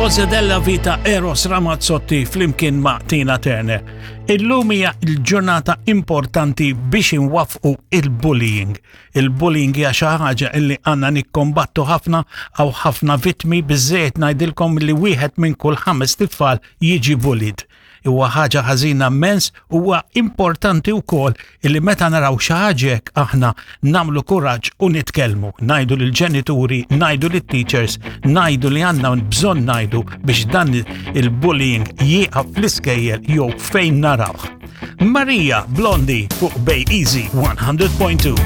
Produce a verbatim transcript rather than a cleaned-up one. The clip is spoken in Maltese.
Cose della Vita, Eros Ramazzotti flimkien ma' Tina Turner. Illum hija l-ġurnata importanti biex inwaffqu il-bullying. Il-bullying hija xi ħaġa illi għandna nikkombattu ħafna. Hawn ħafna vittmi, biżejjed ngħidilkom li wieħed minn kull ħames tfal jiġi bullied. Huwa ħaġa ħażina immens. Huwa importanti wkoll illi meta naraw xi ħaġa hekk aħna nagħmlu kuraġġ u nitkellmu, ngħidu lill-ġenituri, ngħidu lit-teachers, ngħidu li għandna bżonn ngħidu biex dan il-bullying jieqaf fl-iskejjel jew fejn narawh. Maria, Blondie, fuq Bay Easy one hundred point two.